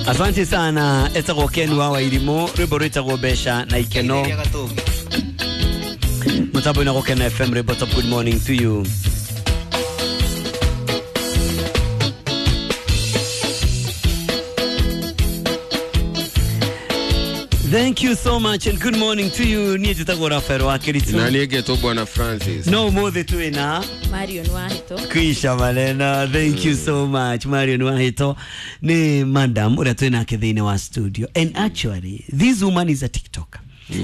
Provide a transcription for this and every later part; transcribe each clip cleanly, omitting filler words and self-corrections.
Asante sana etagwo Ken wa Wairimu, rwimbo rwitagwo Mbeca na Ikeno. Mutambo na Gukena FM, rwimbo top. Good morning to you. Thank you so much and good morning to you. Niĩ njĩtagwo Rafael wa Kiritu. Na niĩ ngetwo Bwana Francis. No ũmũthĩ twĩna Marion Wahito. Kwisha maneno. Thank you so much Marion Wahito. Ni madam ũrĩa twĩ nake thĩinĩ wa studio. And actually this woman is a TikToker.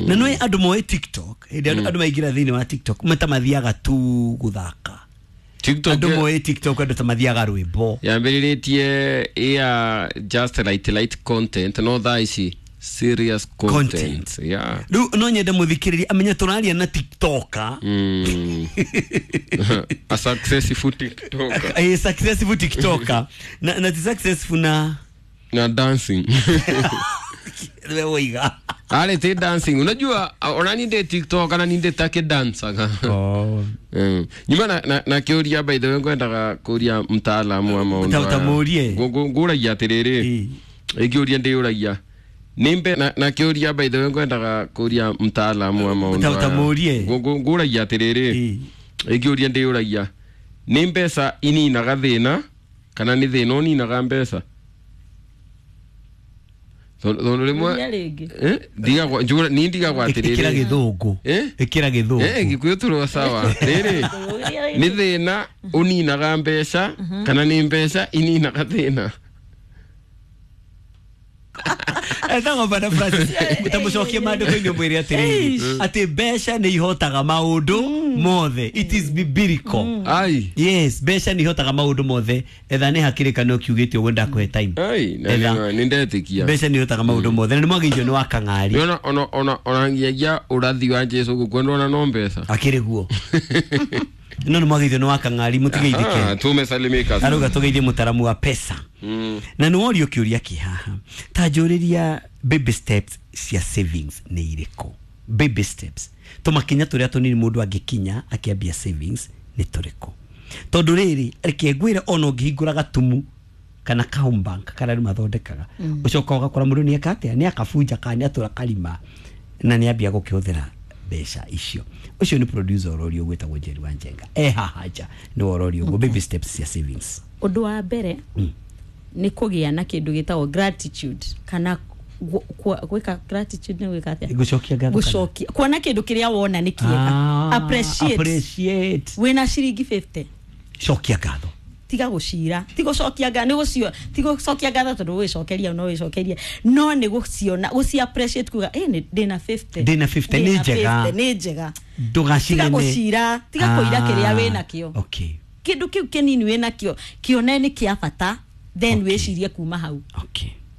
Na nĩ andũ moĩ TikTok, hĩndĩ andũ maingĩra thĩinĩ wa TikTok mata mathiaga tu gũthaka. TikTok Andũ moĩ TikTok andũ ta mathiaga rwĩmbo. Yambĩrĩrĩtie ya just light light content, no thaa ici serious content, Content. Yeah. Rĩu no nyende mũthikĩrĩria amenye tũraria na TikToker. A successful TikToker. A successful TikToker. Na ti successful na na dancing. We woiga. Arĩ ti dancing, unajua ona ni ndĩ TikTok kana ni ndĩ take dancaga. Oh. Nyuma na kĩũria, by the way, ngwendaga kũria mtaalamu wa maũndũ Ta aya. mũrie. Ngũragia atĩrĩrĩ, ĩngĩũria ndĩũragia nĩ mbe na kĩũria, by the way, ngwendaga kũria mtaalamu wa maũndũ Ta aya. mũrie. Ngũragia atĩrĩrĩ, ĩngĩũria ndĩũragia nĩ mbeca ininaga thĩna kana nĩ thĩna ũninaga mbeca? Tondũ rĩmwe Ũria rĩngĩ. Eh, ndigagwo niĩ ndigagwo Ĩkĩra atĩrĩrĩ. gĩthũngũ. Eh? Ĩkĩra gĩthũngũ. Eh, Gĩkũyũ tũrĩ sawa. Rĩrĩ, Ũria nĩ rĩngĩ. thĩna ũninaga mbeca kana nĩ mbeca ininaga thĩna? Etagwo Bwana Francis, tamũcokie maandĩko-inĩ ũmwĩre atĩrĩrĩ atĩ mbeca nĩ ihotaga maũndũ mothe. It is biblical. Ai. Yes, mbeca nĩ ihotaga maũndũ mothe. Etha nĩ hakĩrĩkanĩro kiugĩte ũguo, ndakũhe time. Ai, na Etha. nĩ ndetĩkia. Mbeca nĩ ihotaga maũndũ mothe na nĩ mwagĩirio nĩ wa kang'ari. Nĩona ona ngiagia ũrathi wa Jesu gũkua ndona no mbeca. Akĩrĩ guo no nĩ mwagĩirio nĩ wa kang'ari, mũtigeithĩke. Ah, tumesalimika. Arauga tũgeithie mũtaramu wa pesa. Na nĩ worio kĩũria kĩ haha, ta njũrĩria baby steps cia savings nĩ irĩkũ? Baby steps, tũmakinya tũrĩa tũnini mũndũ angĩkinya akĩambia savings nĩ tũrĩkũ? Tondũ rĩrĩ, reke ngwĩre, ona ũngĩhingũra gatumu kana ka home bank karĩa andũ mathondekaga, ũcoka ũgakora mũndũ nĩ eka atĩa, nĩ akabunja kana nĩ atũra karima na nĩ ambia gũkĩhũthĩra mbeca icio. Ũcio nĩ producer ũrorio gwĩtagwo Njeri wa Njenga, e haha nja nĩ ũrorio ũguo, baby steps cia savings. Ũndũ wa mbere nĩ kũgĩa na kĩndũ gĩtagwo gratitude, kana gwĩka gratitude nĩ gwĩka atĩa? Gũcokia ngatho kana? Gũcokia, kuona kĩndũ kĩrĩa wona nĩ kĩega. Ah, appreciate. Appreciate. Wĩna ciringi 50, cokia ngatho. Tiga gũcira, ti gũcokia ngatho, nĩ gũcio, ti gũcokia ngatho tondũ gwĩcokeria no wĩcokerie, no nĩ gũciona, gũci appreciate, kuga ĩ nĩ ndĩna 50. Ndĩna 50, nĩ Ndĩna njega. 50, nĩ njega. Tiga ndũgacinene. Gũcira, tiga kũira kĩrĩa wĩnakĩo. Kĩndũ kĩu kĩnini wĩnakĩo kĩone nĩ kĩa bata, then wĩcirie kuma hau.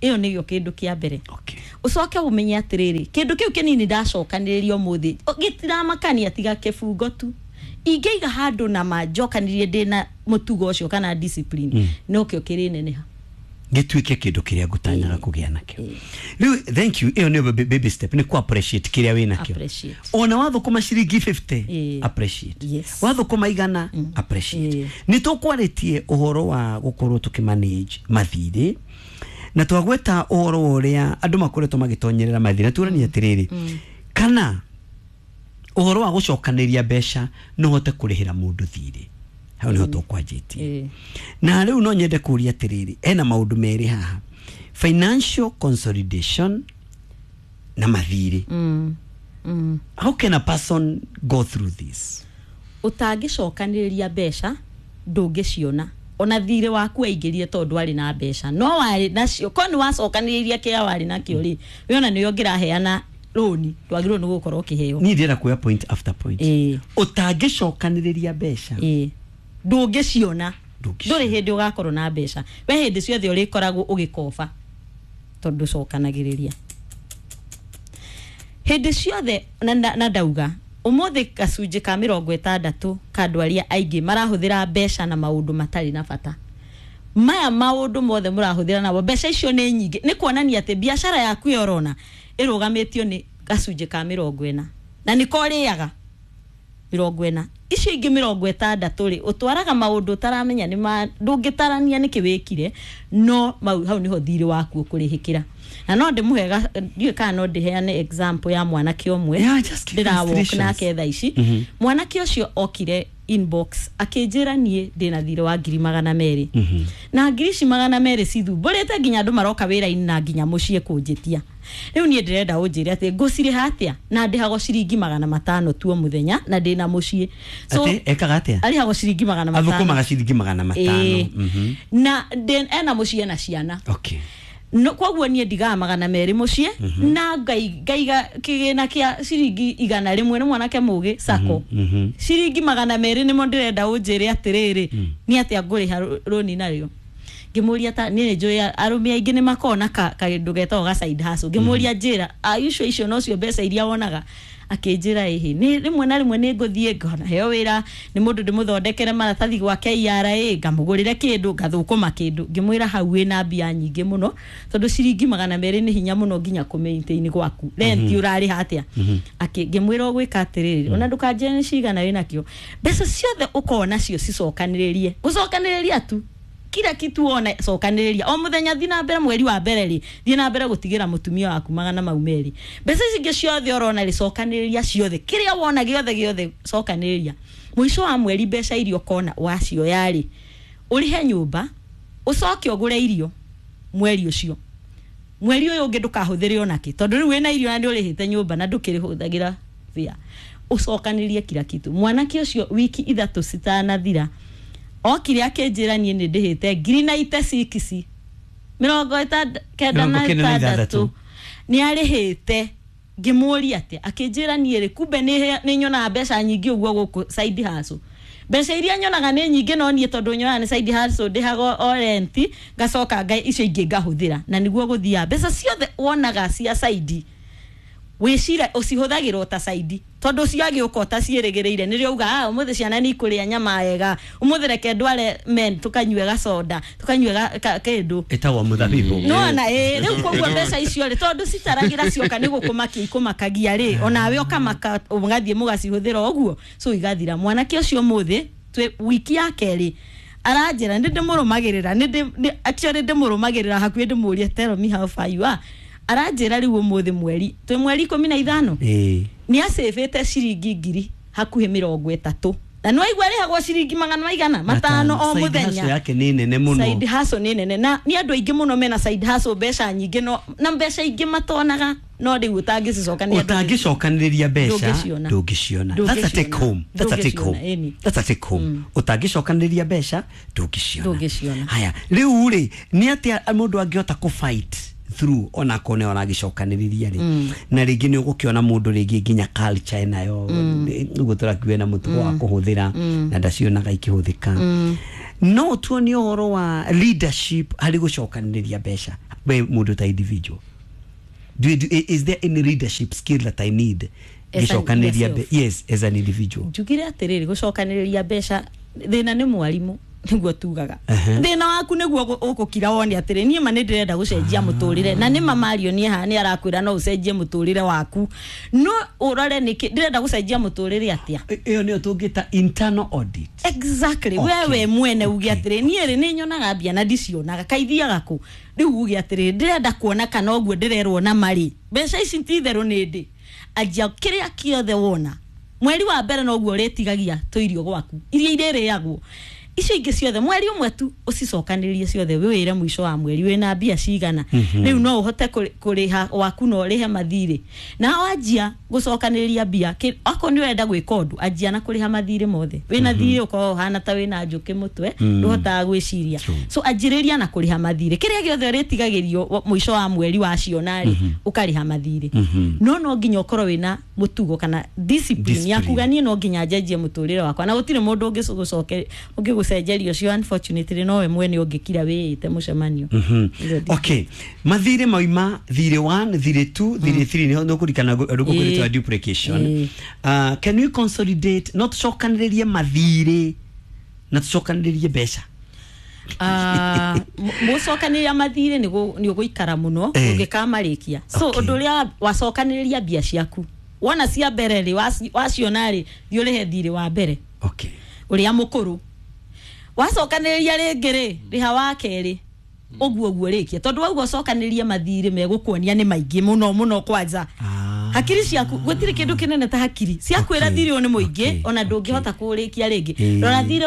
Ĩyo nĩyo kĩndũ kĩa mbere. Ũcoke ũmenye atĩrĩrĩ, kĩndũ kĩu kĩnini ndacokanĩrĩria ũmũthĩ gĩtiramakania, tiga kĩbungo tu ingĩiga handũ na ma njokanĩrie ndĩna mũtugo ũcio kana discipline, nokĩo kĩrĩneneha. Gĩtuĩke kĩndũ kĩrĩa ngũtanyaga kũgĩa nakĩo rĩu. Thank you. Ĩyo nĩyo baby step, nĩ ku appreciate kĩrĩa wĩ nakĩo. Appreciate. Ona wathũkũma ciringi 50, appreciate. Wathũkũma 100, appreciate. Nĩ tũkwarĩtie ũhoro wa gũkorwo tũkĩmanage mathirĩ na twagweta ũhoro wa ũrĩa andũ makoretwo magĩtonyerera mathirĩ, na tuonania atĩrĩrĩ, kana ũhoro wa gũcokanĩria mbeca no ũhote kũrĩhĩra mũndũ thirĩ, hau nĩho tũkwanjĩtie. Na rĩu no nyende kũria atĩrĩrĩ, hena maũndũ merĩ haha, financial consolidation na mathirĩ. How can a person go through this? Ũtangĩcokanĩrĩria mbeca ndũngĩciona. Ona thirĩ waku aingĩrire tondũ warĩ na mbeca, no warĩ nacio ko nĩ wacokanĩrĩirie kĩrĩa warĩ nakĩo rĩ, we ona nĩyo ũngĩraheana rũni ndwagĩrĩirwo nĩ gũkorwo ũkĩheo. Niĩ ndĩrenda kuoya point after point. Ũtangĩcokanĩrĩria mbeca Ĩĩ, ndũngĩciona. Ndũngĩciona. Ndũrĩ hĩndĩ ũgakorwo na mbeca. We hĩndĩ ciothe ũrĩkoragwo ũgĩkoba tondũ ndũcokanagĩrĩria hĩndĩ ciothe. Na ndauga ũmũthĩ gacunjĩ ka 60 ka andũ arĩa aingĩ marahũthĩra mbeca na maũndũ matarĩ na bata. Maya maũndũ mothe mũrahũthĩra namo mbeca icio nĩ nyingĩ, nĩ kuonania atĩ biacara yaku ĩyo ũrona ĩrũgamĩtio nĩ gacunjĩ ka 40 na nĩko ũrĩaga. 40 icio ingĩ 60 rĩ ũtwaraga maũndũ ũtaramenya nĩ ma ndũngĩtarania nĩkĩ wĩkire no mau hau nĩho thirĩ waku ũkũrĩhĩkĩra. Na no ndĩmũhe ndiũĩ kana no ndĩheane example ya mwanake ũmwe ndĩrawalk nake thaa ici. Mwanake ũcio okire inbox akĩnjĩra niĩ ndĩna thirĩ wa 200,000 na ngiri ici 200 cithumbũrĩte nginya andũ maroka wĩra-inĩ na nginya mũciĩ kũnjĩtia. Rĩu niĩ ndĩrenda ũnjĩre atĩ ngũcirĩha atĩa na ndĩhagwo ciringi 500 tu o mũthenya na ndĩna mũciĩ. So atĩ ekaga atĩa? Arĩhagwo ciringi 500. Athũkũmaga ciringi 500. Na ena mũciĩ na ciana. Okay. No koguo niĩ ndigaga 200 mũciĩ na ngaiga kĩgĩna kĩa ciringi 100 nĩ mwanake mũgĩ sako. Ciringi 200 nĩmo ndĩrenda ũnjĩre atĩrĩrĩ nĩ atĩa ngũrĩha rũni narĩo. Ngĩmũria ta niĩ njũĩ arũme aingĩ nĩ makona kaũndũ getagwo ga side hustle. Ngĩmũria njĩra icio icio nocio mbeca iria wonaga. Akĩnjĩra ĩhĩ nĩ rĩmwe na rĩmwe nĩ ngũthiĩ ngona heo wĩra nĩ mũndũ ndĩmũthondekere maratathi gwa KRA ngamũgũrĩre kĩndũ ngathũkũma kĩndũ. Ngĩmwĩra hau wĩna mbia nyingĩ mũno tondũ ciringi 200 nĩ hinya mũno nginya kũ-maintain gwaku rent ũrarĩha atĩa. Ngĩmwĩra ũgwĩka atĩrĩrĩ ona ndũkanjĩre nĩ cigana wĩnakĩo mbeca ciothe ũkona cio cicokanĩrĩrie gũcokanĩrĩria tu kila kitu wona cokanĩrĩria o mũthenya thiĩ na mbere mweri wa mbere rĩ thiĩ na mbere gũtigĩra mũtumia waku 200 mbeca ici ingĩ ciothe ũrona rĩ cokanĩrĩria ciothe kĩrĩa wona gĩothe gĩothe cokanĩrĩria mũico wa mweri mbeca iria ũkona wacioya rĩ ũrĩhe nyũmba ũcoke ũgũre irio mweri ũcio mweri ũyũ ũngĩ ndũkahũthĩre onakĩ tondũ rĩu wĩna irio na nĩ ũrĩhĩte nyũmba na ndũkĩrĩhũthagĩra bia ũcokanĩrĩrie kila kitu. Mwanake ũcio wiki 3 citanathira okire akĩnjĩra niĩ nĩ ndĩhĩte 96 96 nĩ arĩhĩte. Ngĩmũria atĩa akĩnjĩra niĩ rĩ kumbe nĩ nyonaga mbeca nyingĩ ũguo gũkũ side hustle mbeca iria nyonaga nĩ nyingĩ no niĩ tondũ nyonaga nĩ side hustle ndĩhaga o rent ngacoka ngai icio ingĩ ngahũthĩra na nĩguo gũthiaga mbeca ciothe wonaga cia side wĩcira ũcihũthagĩra ta side tondũ ciagĩũka ũtaciĩrĩgĩrĩire nĩrĩo uga ũmũthĩ ciana nĩ ikũrĩa nyama wega ũmũthĩ reke ndware men tũkanyue gacoda tũkanyue kĩndũ ĩtagwo mũthabibũ nĩwona rĩu koguo mbeca icio rĩ tondũ citaragĩra cioka nĩ gũkũmakia ikũmakagia rĩ onawe ũkamaka ũgathiĩ mũgacihũthĩra ũguo so igathira. Mwanake ũcio ũmũthĩ twĩ wiki ya kerĩ aranjĩra nĩ ndĩmũrũmagĩrĩra actually ndĩmũrũmagĩrĩra hakuhĩ ndĩmũrie tell me how far you are aranjĩra rĩu ũmũthĩ mweri twĩ mweri 15 nĩ acĩbĩte ciringi ngiri hakuhĩ 30 na nĩ waigua arĩhagwo ciringi 500 o mũthenya. Side hustle yake nĩ nene mũno. Side hustle nĩ nene na nĩ andũ aingĩ mũno mena side hustle mbeca nyingĩ no na mbeca ingĩ matonaga no rĩu ũtangĩcicokanĩrĩria ũtangĩcokanĩrĩria mbeca ndũngĩciona. That's a take home. That's a take home. That's a take home. Ũtangĩcokanĩrĩria mbeca ndũngĩciona. Haya rĩu rĩ nĩ atĩa mũndũ angĩhota kũ fight through ona kone ona gicokanĩrĩria rĩ na rĩngĩ nĩ ũgũkĩona mũndũ rĩngĩ nginya culture nayo ũguo tũrakiuga na mũtugo wa kũhũthĩra na ndacionaga ikĩhũthĩka no tuonie ũhoro wa leadership harĩ gũcokanĩrĩria mbeca we mũndũ ta individual is there any leadership skill that I need gũcokanĩrĩria? Yes, as an individual njugire atĩrĩrĩ gũcokanĩrĩria mbeca thĩna nĩ mwarimũ niguo tugaga thina waku niguo ukukira wone atiri nie ma ndirenda gucenjia muturire na ni mamario nie ha ni arakwira no ucenjie muturire waku no urore niki ndirenda gucenjia muturire atia iyo niyo tungita internal audit. Exactly. Wewe mwene uge atiri nie ri ni nyonaga mbia na ndicionaga kaithiaga ku riu uge atiri ndirenda kuona kana uguo ndirerwo na mari mbeca ici ti theru ni ndi anjia kiria kiothe wona mweri wa mbere no guo ritigagia tuirio gwaku iria irĩrĩagwo icio ingĩ ciothe mweri ũmwe tu ũcicokanĩrĩrie ciothe wĩwĩre mũico wa mweri wĩna mbia cigana rĩu no ũhote kũrĩha waku no ũrĩhe mathirĩ na wanjia gũcokanĩrĩria mbia akorwo nĩ ũrenda gwĩka ũndũ anjia na kũrĩha mathirĩ mothe wĩna thirĩ ũkorwo ũhana ta wĩna njũkĩ mũtwe ndũhotaga gwĩciria so anjĩrĩria na kũrĩha mathirĩ kĩrĩa gĩothe ũrĩtigagĩrio mũico wa mweri waciona rĩ ũkarĩha mathirĩ no no nginya ũkorwo wĩna mũtugo kana discipline ya kuga niĩ no nginya njenjie mũtũrĩre wakwa na gũtirĩ mũndũ ũngĩgũcoke ũngĩgũcenjeria ũcio unfortunately nowe mwene ũngĩkira wĩĩte mũcemanio. Okay, mathirĩ mauma thirĩ 1 thirĩ 2 thirĩ 3 nĩ kũrikana rũkũrĩtwa duplication. Can we consolidate no tũcokanĩrĩrie mathirĩ na tũcokanĩrĩrie mbeca? Mũcokanĩrĩria mathirĩ nĩ ũgũikara mũno ũngĩkamarĩkia so ũndũ ũrĩa wacokanĩrĩria mbia ciaku Wona cia mbere rĩ, waciona rĩ, thiĩ ũrĩhe thirĩ wa mbere. Okay. Ũrĩa mũkũrũ. Wacokanĩrĩria rĩngĩ rĩ, rĩha wa kerĩ. Ũguo ũguo rĩkia. Tondũ wauga ũcokanĩrĩrie mathirĩ megũkuonia nĩ maingĩ mũno mũno kwanja. Hakiri ciaku gũtirĩ kĩndũ kĩnene ta hakiri ciakwĩra thirĩ ũyũ nĩ mũingĩ, ona ndũngĩhota kũũrĩkia rĩngĩ. Rora thirĩ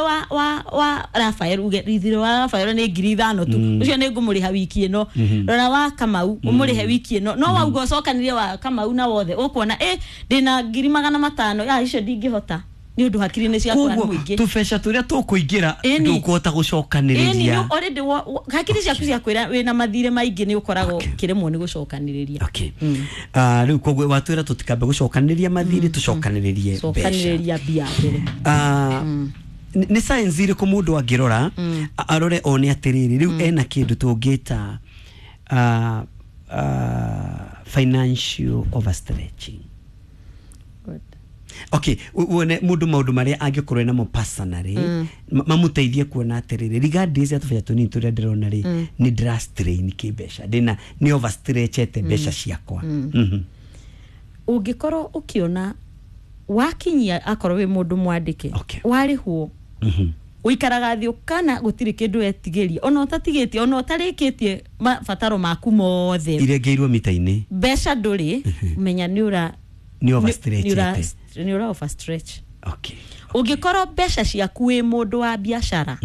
wa Rafael, uge thirĩ wa Rafael nĩ 5,000 tu, ũcio nĩ ngũmũrĩha wiki ĩno. Rora wa Kamau ũmũrĩhe wiki ĩno. No wauga ũcokanĩrie wa Kamau na wothe, ũkuona ndĩna 500,000, icio ndingĩhota nĩ ũndũ hakiri nĩ ciakwa nĩ mũingĩ. Tũbeca tũrĩa tũkũingĩra ndũkũhota gũcokanĩrĩria. Already hakiri ciaku ciakwĩra wĩna mathirĩ maingĩ nĩ ũkoragwo ũkĩremwo nĩ gũcokanĩrĩria. Okay. Rĩu koguo watwĩra tũtikambe gũcokanĩrĩria mathirĩ, tũcokanĩrĩrie mbeca. Cokanĩrĩria mbia mbere. Nĩ science ĩrĩkũ mũndũ angĩrora arore one atĩrĩrĩ rĩu ena kĩndũ tũngĩta financial overstretching? Okay, wone mundu maundu maria angikorwo namo personally mamuteithie kuona atiriri regardless ya tubeca tunini turia ndirona ri ni ndira strain ki mbeca ndina ni overstretchete mbeca ciakwa. Ungikorwo ukiona wakinyia akorwo wi mundu mwandike warihwo uikaraga thi ukana gutiri kindu wetigiria ona utatigitie ona utarikitie mabataro maku mothe irengeirwo mita-ini mbeca nduri menya ni ura ni overstretchete ni ura overstretch. Okay. Ungikorwo mbeca ciaku wi mundu wa biashara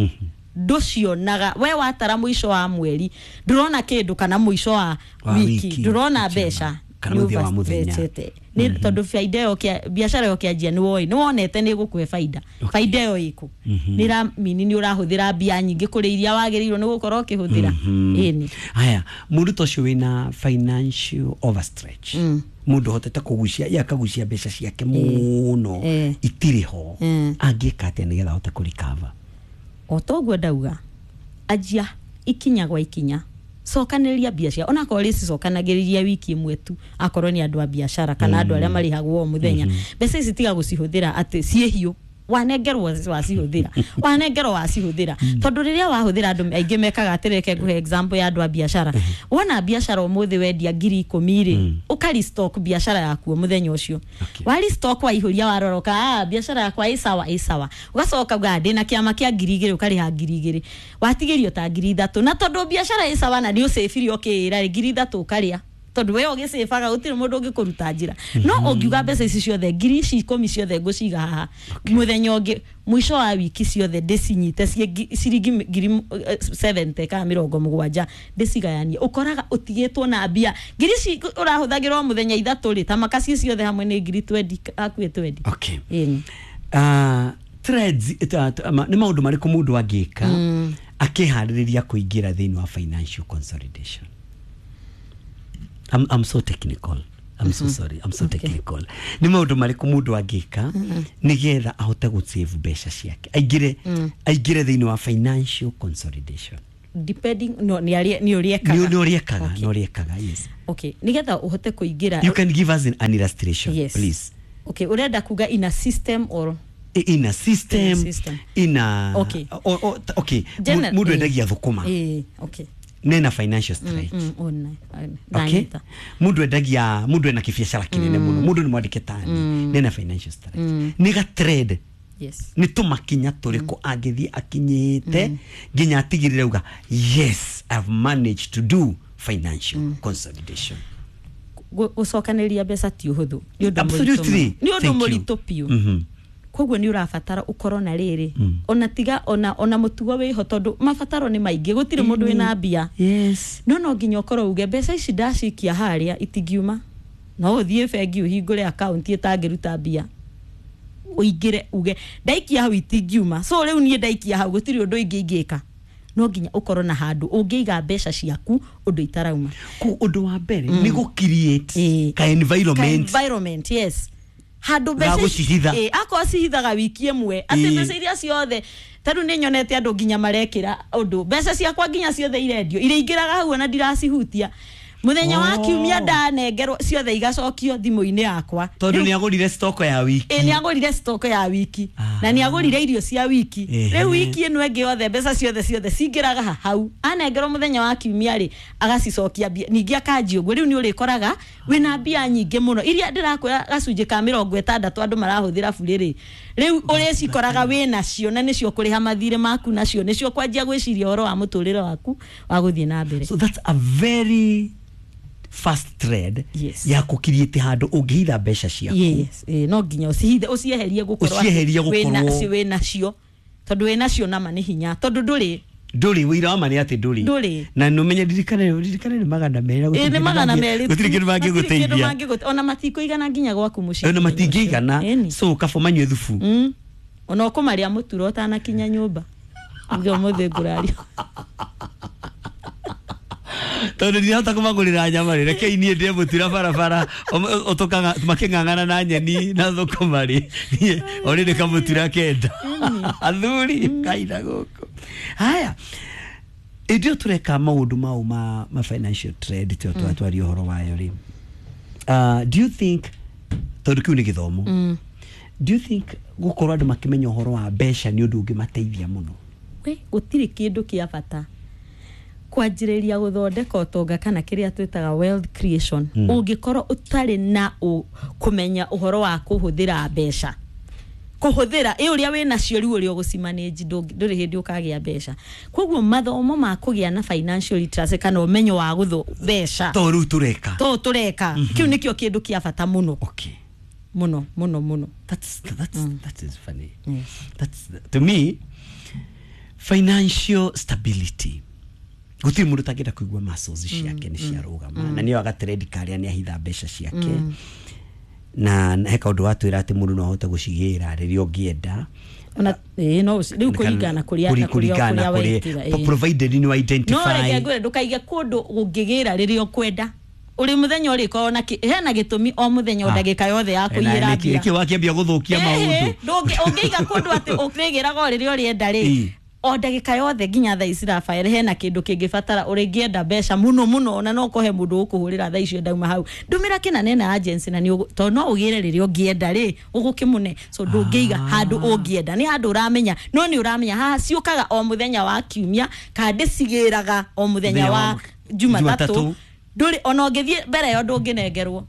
nducionaga we watara muico wa mweri ndurona kindu kana muico wa wiki ndurona mbeca kana muthia wa muthenya ni tondu faida yo kia biashara yo kianjia ni woi ni wonete ni gukuhe faida. Faida yo iku ni ra mini ni urahuthira mbia nyingi kuri iria wagirirwo ni gukorwo ukihuthira. Ini haya mundu to cio wina financial overstretch, mundu hotete kugucia ya kagucia mbeca ciake muno itiri ho, angika atia nigetha ahote ku recover? O toguo ndauga anjia ikinya gwa ikinya, cokanĩrĩria biacara ona korwo rĩcicokanagĩrĩria wiki ĩmwe tu, akorwo nĩ andũ a biacara kana andũ arĩa marĩhagwo o mũthenya, mbeca ici tiga gũcihũthĩra atĩ ciĩ hiũ, wanengerwo wacihũthĩra, wanengerwo wacihũthĩra, tondũ rĩrĩa wahũthĩra andũ aingĩ mekaga atĩrĩ, reke ngũhe example ya andũ a biacara. Wona biacara ũmũthĩ wendia 10,000 rĩ, ũka restock biacara yaku mũthenya ũcio. Wa restock waihũria warora ũka biacara yakwa ĩ sawa ĩ sawa, ũgacoka uga ndĩna kĩama kĩa 2,000 ũkarĩha 2,000, watigĩrio ta 3,000, na tondũ biacara ĩ sawa na nĩ ũcĩbire ũkĩĩra rĩ 3,000 ũkarĩa, tondu we ũgĩcĩbaga gũtirĩ mũndũ ũngĩkũruta njĩra. No ũngiuga mbeca ici ciothe 10,000 ciothe ngũciga haha, mũthenya ũngĩ mũico wa wiki ciothe ndĩcinyite ciĩ ciringi 70 kana 70 ndĩcigayanie, ũkoraga ũtigĩtwo na mbia ngiri ici ũrahũthagĩra o mũthenya 3 rĩ, ta makaci ciothe hamwe nĩ 20,000 hakuhĩ 20. Okay. Threads nĩ maũndũ marĩkũ mũndũ angĩka akĩharĩrĩria kũingĩra thĩinĩ wa financial consolidation? I'm so technical. I'm so sorry. I'm so technical. Ni maundu mariku mundu angika nigetha ahote gusave mbeca ciake. Aingire aingire thiini wa financial consolidation. Depending no ni ari ni uriekaga. Ni uriekaga, ni uriekaga, yes. Okay. Nigetha uhote kuingira. You can give us an illustration, yes, please. Okay, urenda kuga in a system or in a system, in a okay. Okay. Mundu endagia thukuma. Okay. Nena financial stretch. Okay. Mundu endagia mundu ena kibiacara kinene muno, mundu ni mwandike tani, nena financial stretch. Ni ga trade. Yes. Ni tumakinya turiko angithie akinyite nginya atigirire uga yes, I've managed to do financial consolidation. Gucokanĩrĩria mbeca ti ũhũthũ. Ni ũndũ mũritũ. Ni ũndũ mũritũ biũ. Koguo ni ũrabatara ũkorwo na rĩrĩ ona tiga ona mũtugo wĩho tondu mabataro nĩ maingĩ gũtirĩ mũndũ wĩna mbia. Yes. No nginya ũkorwo uge mbeca ici ndacikia harĩa itingiuma, no ũthiĩ bengi ũhingũre account ĩtangĩruta mbia, ũingĩre uge ndaikia hau itingiuma, so rĩu niĩ ndaikia hau gũtirĩ ũndũ ingĩ ingĩka. No nginya ũkorwo na handũ ũngĩiga mbeca ciaku ũndũ itarauma. Ku ũndũ wa mbere nĩ gũ create ka environment. Ka environment, yes. Handũ mbeca akorwo cihithaga wiki ĩmwe atĩ mbeca iria ciothe tarĩu nĩ nyonete andũ nginya marekĩra ũndũ mbeca ciakwa nginya ciothe irendio iria ingĩraga hau ona ndiracihutia. Muthenya wa kiumia ndanengerwo ciothe igacokio thimu-inĩ yakwa. Tondu ni agũrire stock ya wiki. Ĩ, nĩ agũrire stock ya wiki. Na nĩ agũrire irio cia wiki. Rĩu wiki ĩno ĩngĩ yothe mbeca ciothe ciothe cingĩraga hau. Anengerwo mũthenya wa kiumia rĩ, agacicokia mbia. Ningĩ akanjia ũguo. Rĩu nĩ ũrĩkoraga wĩna mbia nyingĩ mũno. Iria ndĩrakwĩra gacunjĩ ka 60 andũ marahũthĩra burĩ rĩ. Rĩu ũrĩcikoraga wĩnacio na nĩcio kũrĩha mathirĩ maku nacio, nĩcio kwanjia gwĩciria ũhoro wa mũtũrĩre waku wa gũthiĩ na mbere. So that's a very fast trend. Yes. Ya kũkiriĩte handũ ũngĩhitha mbeca ciaku. Yes, no nginya ũcihithe, ũcieherie gũkorwo Ũcieherie gũkorwo wĩnacio. Tondũ wĩnacio nama nĩ hinya, tondũ ndũrĩ wĩira wa ma nĩ atĩ ndũrĩ. Na nũmenye ndirikane nĩ 200. Ĩ, nĩ 200. Gũtirĩ kĩndũ mangĩgũteithia. Ona matikũigana nginya gwaku mũciĩ. Ona matingĩigana. So kaba manyue thubu. Ona ũkũmarĩa mũturo ũtanakinya nyũmba. Uge ũmũthĩ ngũraria. Tondu ndirahota kũmagũrĩra nyama rĩ, rekei niĩ ndĩe mũtura barabara ũtũkaga makĩng'ang'ana na nyeni na thũkũma rĩ, niĩ orĩrĩ kamũtura kenda. Athuri kaina gũkũ. Haya, ĩndĩ ĩyo tũreka maũndũ mau ma financial trade tũ twatwaria ũhoro wayo rĩ. Do you think, tondũ kĩu nĩ gĩthomo, do you think gũkorwo andũ makĩmenya ũhoro wa mbeca nĩ ũndũ ũngĩmateithia mũno? We, gũtirĩ kĩndũ kĩa bata kwanjĩrĩria gũthondeka ũtonga kana kĩrĩa twĩtaga wealth creation ũngĩkorwo ũtarĩ na kũmenya ũhoro wa kũhũthĩra mbeca. Kũhũthĩra ĩ ũrĩa wĩnacio rĩu ũrĩa ũgũcimanage ndũrĩ hĩndĩ ũkagĩa mbeca. Koguo mathomo ma kũgĩa na financial literacy kana ũmenyo wa gũthũ mbeca to rĩu tũreka, to tũreka kĩu nĩkĩo kĩndũ kĩa bata mũno. Okay. Mũno mũno mũno. That's that is funny. Yes. That's to me financial stability. Gũtirĩ mũndũ ũtangĩenda kũigua muscles ciake nĩ ciarũgama na nĩyo agatrend karĩa nĩ ahitha mbeca ciake na he kaũndũ watwĩra atĩ mũndũ no ahote gũcigĩra rĩrĩa ũngĩenda. Ona no rĩu kũringana kũrĩa kũringana kũrĩa provided you identify. No reke ngwĩre ndũkaige kũndũ ũngĩgĩra rĩrĩa ũkwenda. Ũrĩ mũthenya ũrĩkorwo na hena gĩtũmi o mũthenya o ndagĩka yothe ya kũiyĩra mbia. Nĩkĩ wakĩambia gũthũkia maũndũ? Ũngĩiga kũndũ atĩ ũrĩgĩraga o rĩrĩa ũrĩenda rĩ, o ndagĩka yothe nginya thaa ici Rafael hena kĩndũ kĩngĩbatara ũrĩngĩenda mbeca mũno mũno, ona no kũhe mũndũ ũkũhũrĩra thaa icio ndauma hau ndũmĩra kĩna nena agency na tondũ no ũgĩre rĩrĩa ũngĩenda rĩ ũgũkĩmũne. So ndũngĩiga handũ ũngĩenda, nĩ handũ ũramenya, no nĩ ũramenya haha ciũkaga o mũthenya wa kiumia kana ndĩcigĩraga o mũthenya wa Jumatatũ. Ndũrĩ ona ũngĩthiĩ mbere ĩyo ndũngĩnengerwo.